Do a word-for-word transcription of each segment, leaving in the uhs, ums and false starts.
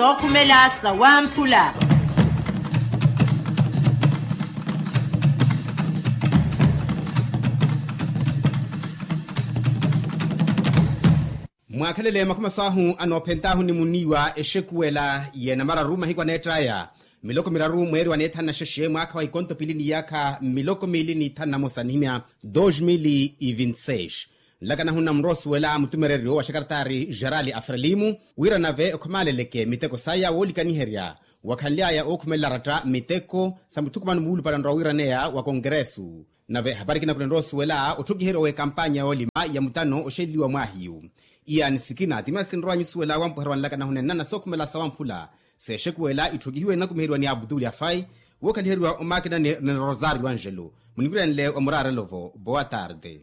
Sookhumela sawamphula. Mwaakhelele makhuma saahu anoophentaahu ni muniiwa exekuwela y'enamararu mahiku aneett'aya miloko miraru mweeri wa neethanu na xexe mwaakha wa ikonto piili n'iyaakha miloko miili n'ithanu na mosa nihimya dos mil e vinte seis. Nlaka nahunna muroosuwela mutumereryo wa xakartaari gerali a frelimu wira nave okhomaaleleke miteko saya woolikaniherya wakhanly'aya ookhumelela ratta miteko sa muthukumano muulupale onrowa wiiraneya wa konkeresu. Nave ehapari ekina khunenrowa osuwela otthokiheriwa w'ekampanya yoolima ya mutano oxeleliwa mwaahiyu. Iyani sikina ti masi nrowa nyusuwela wampuherya wa nlaka nahunenna na sookhumela sawamphula. Seexekuwela itthokihiwe nnakumiheriwa ni abutuli afai wookhaliheriwa omakinani ni rosario angelo. Muniwirenle wa muraarelo-vo boa tarde.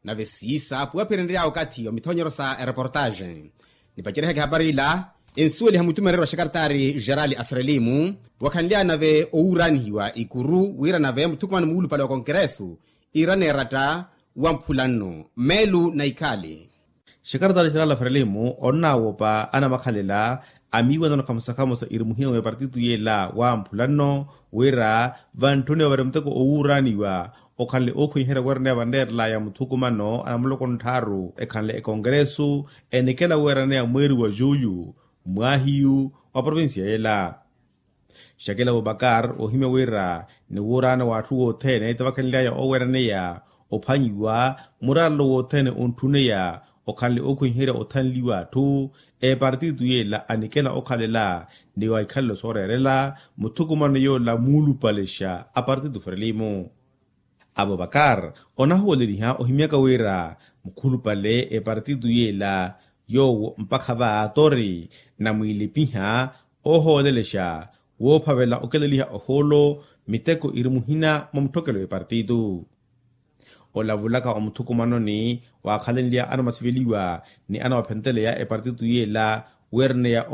Nave siisa puwaphirenrya okathi wa mithonyero sa ereportaxe. Nipaceryehaka ehapari ila ensuweliha mutumereri wa xakartaari gerali a frelimu wakhanly'aya nave owuuraanihiwa ikuru wira nave muthukumano muulupale wa konkeresu iiraneeratta wa mphulanno meelu na ikhaali. Xakartaari gerali a frelimu onnaawopa anamakhalela amiiwanano khamosa khamosa irimuhina wa epartitu yela wa mphulanno wira vantthuniwa vari muteko owuuraaniwa okhanle ookhwenyiherya weeraneya vanreerelaya muthukumano anamuloko nttharu ekhanle ekonkeresu enikela weeraneya mweeri wa juyu mwaahiyu wa provincia yela. Xakela abubakar oohimya wira ni wuuraana w'atthu wothene tavakhenly'aya ooweeraneya ophwanyiwa muraarelo wothene ontthuneya okhanle ookhwenyiherya othanliwa atthu epartitu yela anikela okhalela ni wa ikhalelo sooreerela muthukumano yoola muulupalexa apartitu frelimu. Abubakar onahooleliha ohimyaka wira mukhulupale epartitu yela yoowo mpakha va tori namwiilipiha oohoolelexa woophavela okeleliha ohoolo miteko iri muhina mwa mutthokelo w'epartitu. Olavulaka omuthukumanoni waakhalenlya anamwasiveliwa ni anamwaphenteleya epartitu yela weerneya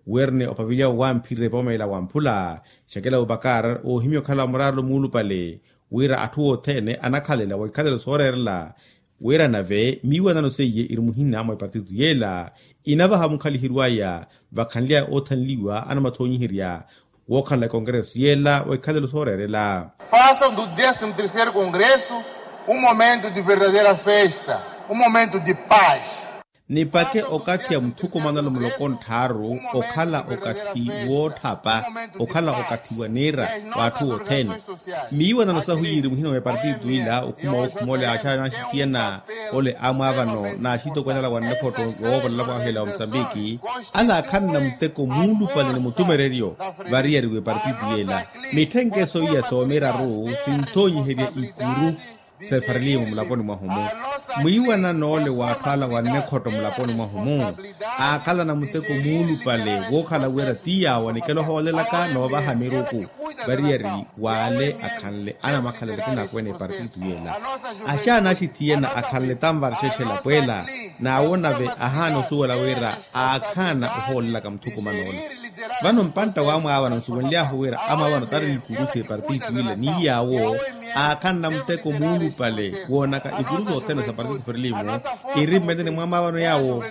weerneya opaveliwa wamphirire poomeela wamphula. Xakela abubakar oohimya okhala muraarelo muulupale wira atthu othene anakhalela wa ikhalelo sooreerela wira nave miiwanano seiye iri muhina mwa epartitu yela inavaha mukhaliheriwaya vakhanly'aya oothanliwa anamwathonyiherya wookhala ekonkereso yela wa ikhalelo sooreerela. Faça do décimo terceiro congresso um momento de verdadeira festa, um momento de paz. Nipake okathi a muthukumanelo muloko nttharu okhala okathi wootthapa okhala okathi wa niira w'atthu othene. Miiwanano sahu yiiri muhina wa epartitu ila okhuma okhuma ole axaana axithiyana ole amwaavano n'axitokweene ala wa nnekhotto yoovolela kwaahu ela wa musambiki ala akhanna muteko muulupale ni mutumereryo variyari w'epartitu yela. Mitthenkeso iya soomiraru sinthonyiherya ikuru sefarilimu mulaponi mwahu-mu mwiiwana n'ole w'atthu ala wa nnekhotto mulaponi mwahu-mu aakhalana muteko muulupale wookhala wira ti yaawo anikela ohoolelaka noovaha miruku variyari w'ale akhanle anamakhalelo akinakwene epartitu yela. Axaana axithiyana akhanle tanvarxexe elapweela n'awo nave ahaana osuwela wira aakhaana ohoolelaka muthukuman'ola. Vano mpantta wamwaavano nsuwenly'ahu wira amwaavano tari ikurusi epartitu ila ni yaawo aakhanna muteko muulupale woonaka ikurusi othene sa partitu ferilimu iri mmeteni mwa amwaavano yaawo.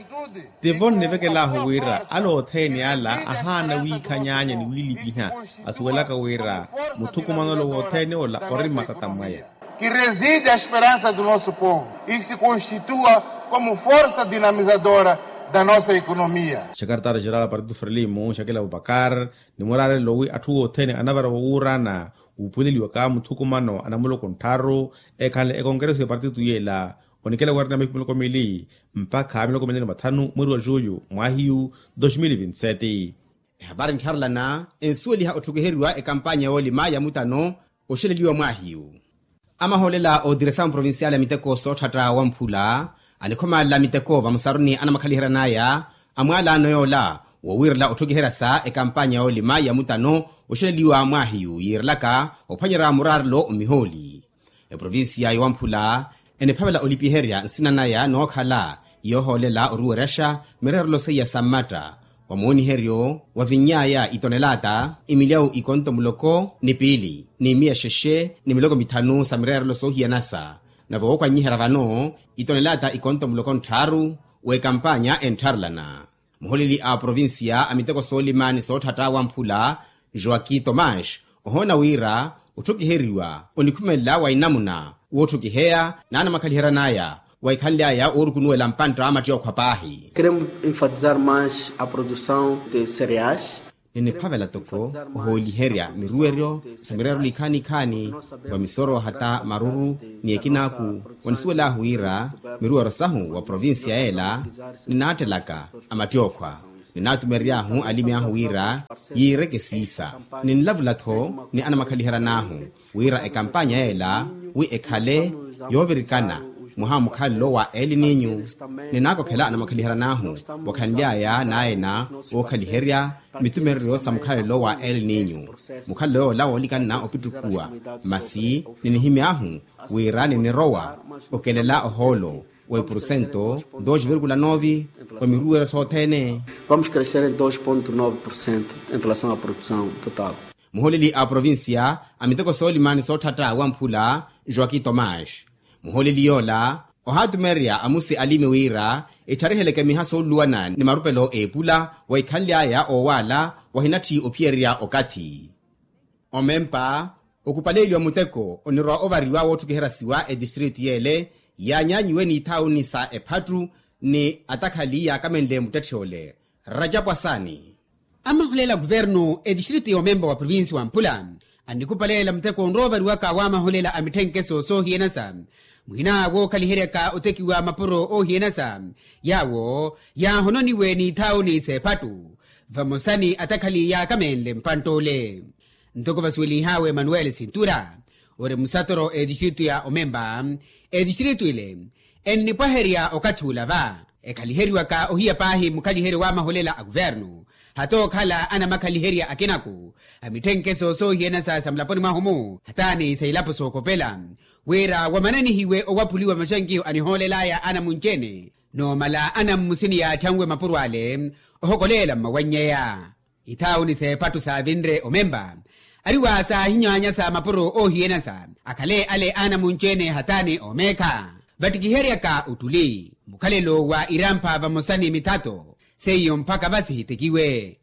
Tivo nnivekel'ahu wira ala othene ala ahaana wiikhanyaanya ni wiilipiha asuwelaka wira muthukuman'ola wothene ola ori mmatata mwaya. Que reside a esperança do nosso povo e que se constitua como força dinamizadora da nossa economia. Xekaretari jeral a partitu ferilimu xakela abubakar ni muraarelo wi atthu othene anavara wowuurana wuupuleliwaka muthukumano anamuloko nttharu ekhanle ekonkereso ya partitu yela onikela weerana mihiku miloko mili mpakha miloko mili ni mathanu mweri wa juyu mwaahiyu dos mil vinti sete. Ehapari nttharelana ensuweliha otthokiheriwa ekampanya yoolima ya mutano oxeleliwa mwaahiyu. Amahoolela ootiresa mprovincial a miteko sootthatta wamphula anikhomalela miteko vamusaruni anamakhalihera n'aya amwaalano yoola wowiirela otthokiheryasa ekampanya yoolima ya mutano oxeleliwa mwaahiyu yiirelaka ophwanyerya muraarelo omihooli. Eprovincia yowamphula eniphavela olipiherya nsina naya nookhala yoohoolela oruweryaxa mireerelo seiya sa mmatta Wa mooniheryo wavinny'aya itonelaata imilyawu ikonto muloko ni piili ni miya xexe ni miloko mithanu sa mireerelo soohiyanasa. Nave wookwanyiherya vano itonelaata ikonto muloko ntthaaru w'ekampanya enttharelana. Muholeli a provincia a miteko soolima ni sootthatta wamphula joaquin tomas ohoona wira otthukiheriwa onikhumelela wa inamuna wootthukiheya n'anamakhaliheryan'aya wa ikhanly'aya oorukunuwela mpantta a mattyookhwa paahi. Keremu enfatizar mas a produção de cereais. Niniphavela toko ohooliherya miruweryo sa mireerelo ikhaani-ikhaani wa misoro hata maruru ni ekinaaku. Onisuwel'ahu wira miruweryo sahu wa provincia ela ninaattelaka a mattyookhwa. Ninaatumerery'ahu alimi ahu wira yiireke siisa. Ninlavula-tho ni anamakhaliheryan'ahu wira ekampanya ela wi ekhale yoovirikana mwaha wa mukhalelo wa elininyu. Ninaakokhela anamakhaliheryan'ahu wakhanly'aya n'ayena ookhaliherya mitumereryo sa mukhalelo wa elininyu. Mukhalelo yoola woolikanna opittukhuwa masi ninihimy'ahu wira ninirowa okelela ohoolo wa ipurusento dos virgula nove wa miruweryo sothene. Vamos crescer em dois ponto nove por cento em relação à produção total. Muholeli a provincia a miteko soolima ni sootthatta wamphula joaquin tomas. Muholeli yoola ohaatumererya amusi alimi wira etthariheleke miha sooluluwana ni marupelo eepula wa ikhanly'aya oowaala wahinatthi ophiyererya okathi. Omempa okupaleeliwa muteko onirwa ovariwa wootthukiheryasiwa etistritu y'ele yaanyaanyiwe n'ithaawuni sa ephattu ni atakhali yaakamenle muttetthe ole. Rajapu asaani. Amahulela a kuvernu etistritu y'omempa wa provinsi wa mpula annikupaleela muteko onroovariwaka w'amahulela a mitthenkeso soohiyanasa muhina wookhaliheryaka otekiwa mapuro oohiyanasa yaawo yaahononiwe n'ithaawuni s'ephattu vamosa ni atakhali yaakamenle mpantt'ole. Ntoko vasuwelinh'awe emanuweli sintura ori musatoro etistritu ya omempa etistritu ile ennipwaherya okathi ula va ekhaliheriwaka ohiya paahi mukhaliheryo w'amahulela a kuvernu hata okhala anamakhaliherya akinaku a mitthenkeso soohiyanasa sa mulaponi mwahu-mu hata ni sa ilapo sookopela wira wamananihiwe owaphuliwa maxankiho anihoolel'aya anamunci-ene noomala anammusini yaatthanwe mapuro ale ohokoleela mmawannyeya. Ithaawuni s'ephattu saavinre omempa ariwa saahinyaanyasa mapuro oohiyanasa akhale ale anamunci-ene hata ni oomeekha vattikiheryaka ottuli mukhalelo wa irampha vamosa ni mithato seiyo mpakha vasihitekiwe.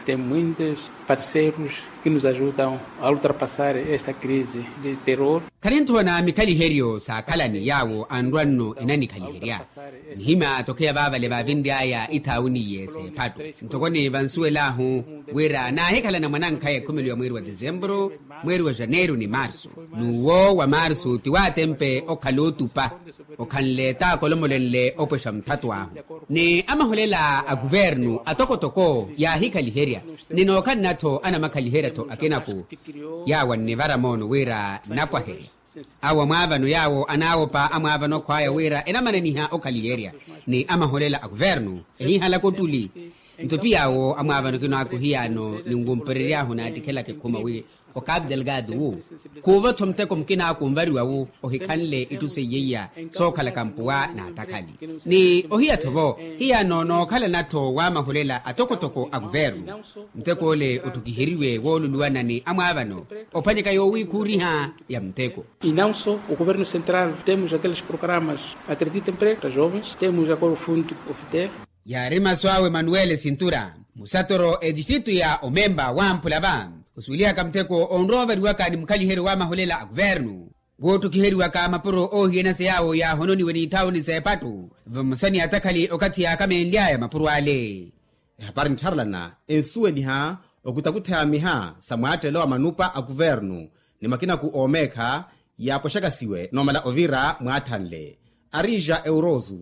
Tem muitos parceiros que nos ajudam a ultrapassar esta crise de terror. Khanintthoona mikhaliheryo saakhalani yaawo anrwa-nno enanikhaliherya nihimya tokheya vaavale vaavinry'aya ithaawuni iye s'ephattu ntoko ni vansuwel'ahu wira naahikhalana mwanankhaya ekhumelo ya mweeri wa desemburu mweeri wa janeiro ni marsu n'uwo wa marsu ti waatempe okhala otupa okhanle t'akolomolenle opwexa muthatw'ahu ni amahulela a kuvernu atokotoko yaahikhaliherya ni nookhalana-tho anamakhaliherya-tho akinaku yaawo annivara moono wira nnapwaherya awo amwaavano yaawo anaawopa amwaavano akhw'aya wira enamananiha okhaliherya ni amahulela a kuvernu ehihalaka ottuli nto piyaawo amwaavano kinaaku hiyaano ninwumperery'ahu naattikhelaka ekhuma wi okapu delgado wu khuuva-tho muteko mukinaaku onvariwa wu ohikhanle itthu seiyeiya sookhalaka mpuwa n'atakhali ni ohiya-tho-vo hiyaano nookhalana-tho w'amahulela atokotoko a kuvernu muteko ole otthukiheriwe wooluluwana ni amwaavano ophwanyeka yoowikhuuriha ya muteko. E não só o governo central temos aqueles programas acredita emprego para jovens temos agora o fundo ofiter. Yaari masu awe manuwele sintura musatoro etistritu ya omempa wamphula va osuwelihaka mutheko onrowa ovariwaka ni mukhaliheryo wa mahulela a kuvernu wootthukhiheriwaka mapuro oohiyanasa yaawo yaahononiwe n'ithaawuni s'epattu vamosa ni atakhali okathi yaakamenly'aya mapuro ale. Ehapari nttharelana ensuweliha okutakutheya miha sa mwaattelo wa manupa a kuvernu ni makinaku oomeekha yaapoxakasiwe noomala ovira mwaathanle. Arija eurosu.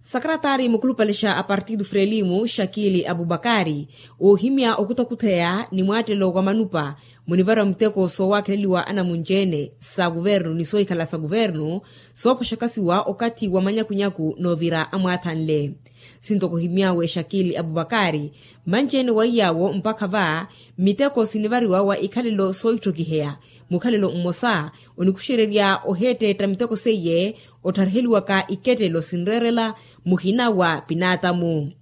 Sakaratari mukhulupalexa a partidu frelimu shakili abubakari oohimya okutakutheya ni mwaattelo wa manupa munivara muteko soowakheleliwa anamunci-ene sa kuvernu ni soohikhala sa kuvernu soopoxakasiwa okathi wa manyakunyaku noovira amwaathanle. Sinto kuhimyawe shakili abubakari manci-ene wa iyaawo mpakha va miteko sinivariwa wa ikhalelo soohitthokiheya mukhalelo mmosa onikuxererya oheetteetta miteko seiye ottariheliwaka ikettelo sinreerela muhina wa pinaatamu.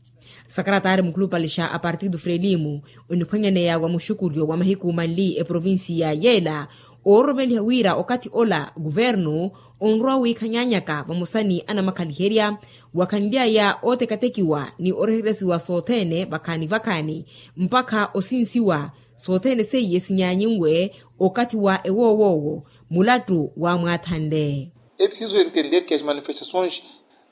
Sakarataari mukhulupale xa apartido frelimu oniphwanyaneya wa muxukulyo wa mahiku manli eprovincia yeela, oororomeliha wira okathi ola kuvernu onrowa wiikhanyanyaka vamosa ni anamakhaliherya wakhanly'aya ootekatekiwa ni oreheresiwa sothene vakhaani vakhaani mpakha osinsiwa. Sothene seiye sinyanyinwe okathi wa ewoowoowo mulattu waamwaathanle. É preciso entender que as manifestações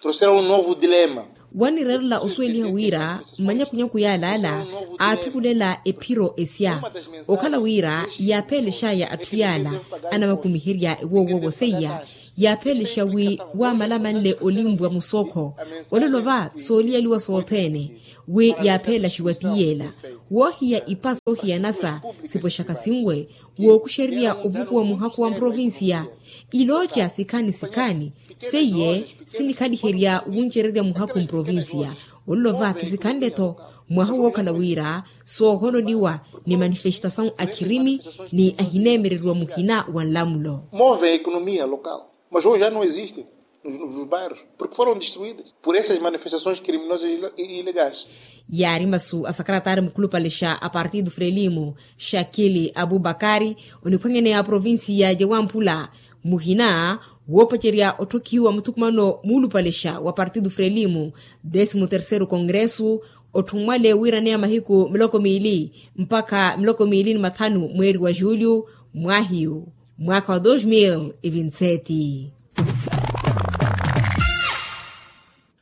trouxeram um novo dilema. Wannireerela osuweliha wira mmanyakunyaku yaalaala aatthukulela ephiro esya okhala wira yaapheelexaya atthu yaala anamakumiherya ewoowoowo seiya yaapheelexa wi waamalamanle olinvwa musookho olelo va sooliyaliwa sothene wi yaapheelaxiwa tiyeela woohiya ipa soohiyanasa sipwexaka sinwe wookuxererya ovukuwa muhakhu wa mprovincia. Ilooca sikhaani sikhaani seiye sinikhaliherya wuncererya muhakhu mprovincia olelo va kisikhanle-tho mwaha wookhala wira soohononiwa ni manifestasawu a khirimi ni ahineemereriwa muhina wa nlamulo. Move a economia local mas hoje já não existe nos bairros porque foram destruídas por essas manifestações criminosas e ilegais. Yaari masu a sakarataari mukhulupale xa a partido frelimo xakili abubakari oniphwanyaneya a provincia ya wamphula muhina woopacerya otthokhiwa muthukumano muulupale xa wa partido frelimo décimo terceiro congresso otthummwale wiiraneya mahiku miloko miili mpakha miloko miili ni mathanu mweeri wa julho mwaahiyu mwaakha wa dos mil e vinti sete.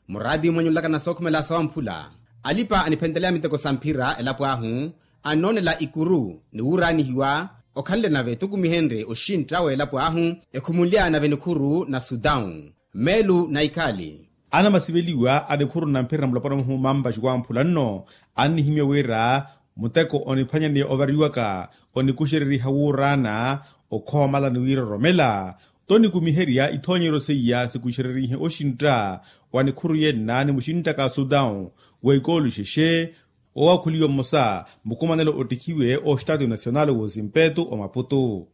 Muraati mwanyulaka na sookhumela sawamphula alipa aniphentelaya miteko sa mphira elapo ahu annoonela ikuru ni wuuraanihiwa okhanle nave tukumihenrye oxintta w'elapo ahu ekhumulya nave nikhuru na sudawu meelu na ikhaali. Anamasiveliwa a nikhuru na mphira na mulopwana muhu mampaxi wamphula nno annihimya wira muteko oniphwanyaneya ovariwaka onikuxereriha wuuraana okhoomala ni wiiroromela tonikumiherya ithoonyeryo seiya sikuxererihe oxintta wa nikhuru yenna ni muxinttaka sudawu wa ikoolu xexe. Owaakhuliwa mmosa mukumanelo ottikhiwe oxtatu nasional woosimpetu omaputu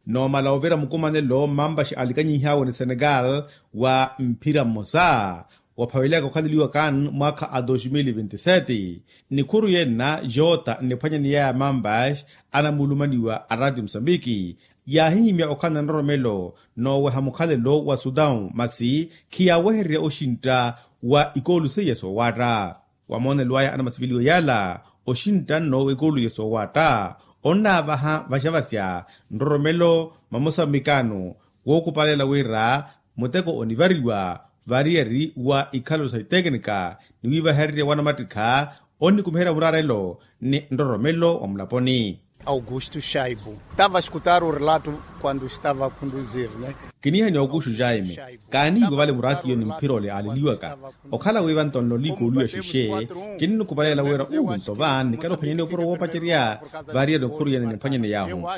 noomala ovira mukumanelo mmampaxi alikanyihawe ni senegal wa mphira mmosa waphaveleyaka okhaleliwa kan mwaakha a dos mil vinti sete. Nikhuru yenna jota nniphwanyaneyaya mampaxi anamulumaniwa a ratio musambiki yaahihimya okhala na nroromelo nooweha mukhalelo wa sudawu masi khiyaawehererya oxintta wa ikoolu seiya soowaatta. Wa moonelo aya anamasiveliwa yaala oxintta nno w'ekooluye soowaatta onnaavaha vaxavasya nroromelo mamosa mmikaano wookupalela wira muteko onivariwa variyari wa ikhalelo sa itekinika ni wiivahererya wanamattikha onnikumiherya muraarelo ni nroromelo wa mulaponi. Augusto shaibu tava escutar o relato quando estava a conduzir ne. Kiniha ni augusto jaime kaanihiwa vale muraatiyo ni mphira ole aaleliwaka okhala wiiva nto nloliikooluya xexe. Kinnukupalela wira uu nto va nnikela ophwanyaniya opuro woopacerya variya nikhuru yene nimphwanyaney'ahu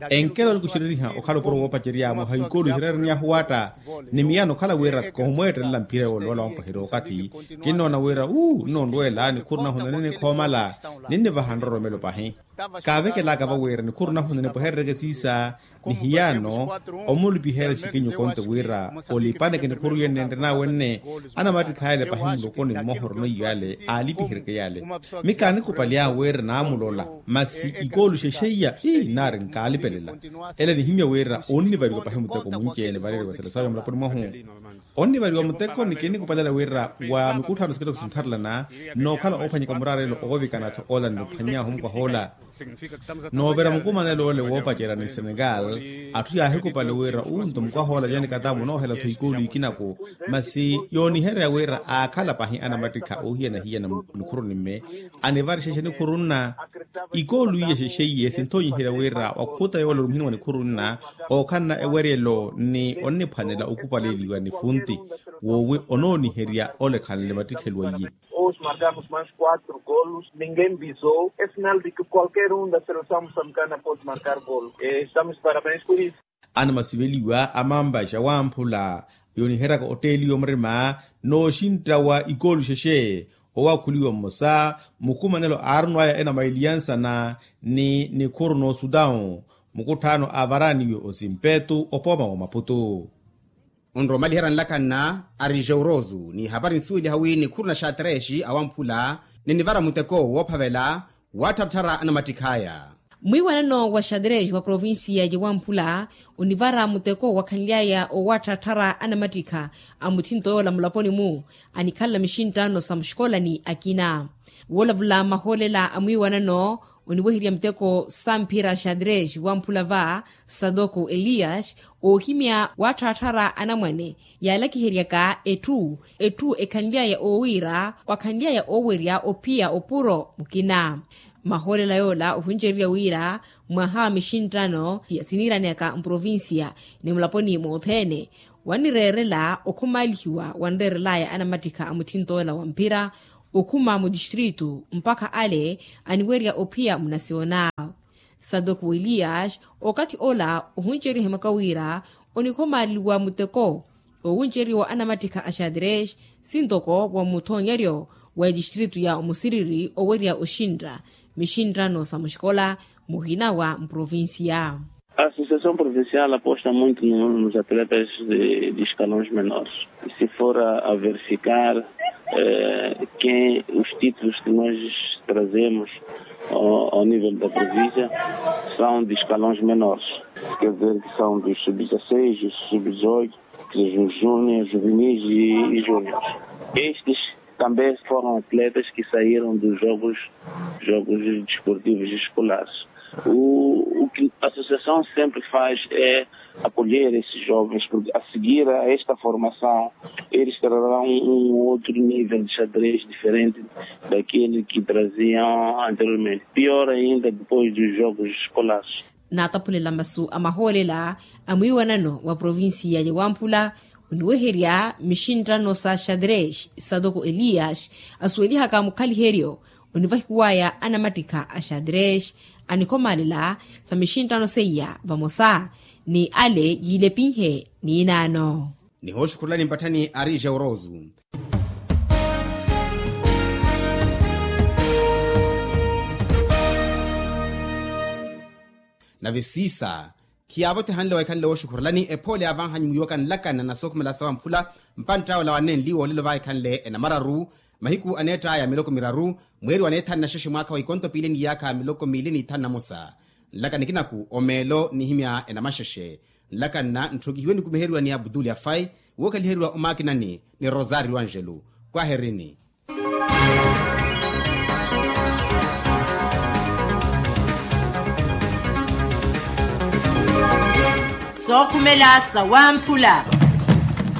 enkela onikuxereriha okhala opuro woopacerya mwaha ikoolu ihireeraniyahu waatta ni miyaano okhala wira koomweettelela mphira yoole wala wampoherya okathi. Kinnoona wira uu nnoonrweela nikhuru nahunene nikhoomala ninnivaha nroromelo pahi. Kaavekelaka vawira nikhuru nahunene poherereke siisa ni hiyaano omulupiherya xikinyu konte wira olipaneke nikhuru yene nenrena wenne anamattikha yale pahi mulokoni mmoha orono iyale aalipiheryeke yale. Mi kaanikupalya wira naamulola masi ikoolu xexeiya ii naari nkaalipelela. Ele nihimya wira onnivariwa pahi muteko munci-ene variyari wa sela sawe mulaponi mwahu onnivariwa muteko ni kinnikupalela wira wa mikutthano sikitoko sintharelana nookhala oophwanyeka muraarelo oovikana-tho ola nniphwany'ahu mukwah'ola. Noovira mukumanelo ole woopacerya ni senegal atthu yaahikupale wira unto mukwah'ola yaani katamu onoohela-tho ikoolu ikinaku. Masi yooniherya wira aakhala pahi anamattikha oohiyana-hiyana nikhuru nimme anivarixexe nikhuru nna ikoolu iya xexeiye sinthoonyiherya wira wakhuta yoola orumihiwa nikhuru nna ookhanna eweryelo ni onniphwanela okupaleliwa ni funti woowi onooniherya olekhanle mattikhelo aiye. Hoje marcamos mais quatro golos ninguém bisou é sinal de que qualquer um da seleção moçambicana pode marcar golo. Estamos parabéns por isso. Anamasiveliwa a mampaxa wamphula yooniheryaka otteeliwa murima n'oxintta wa ikoolu xexe owaakhuliwa mmosa mukumanelo aarunwaya ena mailiyansana ni nikhuru n'osudawu mukutthaano aavaraaniwe osimpetu opooma wa maputu. Onromaliherya nlakanna ari jeurosu ni hapari nsuweliha wi nikhuru na xatrexi awamphula ninivara muteko woophavela waattharattharya anamattikh'aya. Mwiiwanano wa xadrez wa provincia ya wamphula onivara muteko wakhanly'aya owaattarattharya anamattikha a muthinto yoola mulaponi-mu anikhalela mixinttano sa muxikolani akina. Woolavula mahoolela a mwiiwanano oniweherya muteko sa mphira xadrez wamphula va sadoko elias oohimya waattharattharya anamwane yaalakiheryaka etthu etthu ekhanly'aya oowiira wakhanly'aya oowerya ophiya opuro mukina. Mahoolela yoola ohunceriwa wira mwaha wa mixinttano siniiraneyaka mprovincia ni mulaponi mothene wannireerela okhumalihiwa wanreerelaya anamattikha a muthinto ola wa mphira okhuma mu distritu mpakha ale aniwerya ophiya munasiona. Sadoko wa elias okathi ola ohunceriwa ehimaka wira onikhomaleliwa muteko owunceriwa anamattikha a xadrez sintoko wa muthoonyeryo wa distritu ya omusiriri owerya oxintta mixinttano sa muxikola muhina wa mprovincia. A associação provincial aposta muito nos atletas de escalões menores. Se for a verificar quem os títulos que nós trazemos ao nível da província são de escalões menores, quer dizer que são dos sub dezasseis, dos sub dezoito, dos júniores, juvenis e júniores. Estes também foram atletas que saíram dos jogos jogos desportivos escolares. O que a associação sempre faz é acolher esses jovens porque a seguir a esta formação eles trarão um outro nível de xadrez diferente daquele que traziam anteriormente, pior ainda depois dos jogos escolares. Naataphulela masu a mahoolela a mwiiwanano wa provincia ya wamphula oniweherya mixinttano sa xadrez satoko elias asuwelihaka mukhaliheryo onivahiwaya anamattikha a xadrez anikhomalela sa mixinttano seiya vamosa ni ale yiilepinhe. Niinaano nihooxukhurulani mpatthani ari jeurosu. Nave siisa khiyaavotehanle waikhanle wooxukhurulani ephoole yaavanhanyu mwiiwaka nlakanna na sookhumela sawamphula mpantta ola wanenli woolelo vaikhanle enamararu mahiku aneett'aya miloko miraru mweeri waneethanu na xexe mwaakha wa ikonto piili ni iyaakha miloko miili ni ithanu na mosa. Nlaka nikinaku omeelo nihimya enamaxexe nlakanna ntthokihiwe nikumiheriwa ni abutuli afai wookaliheriwa omaakinani ni rosario angelo. Kwaherini. Sookhumela sawamphula.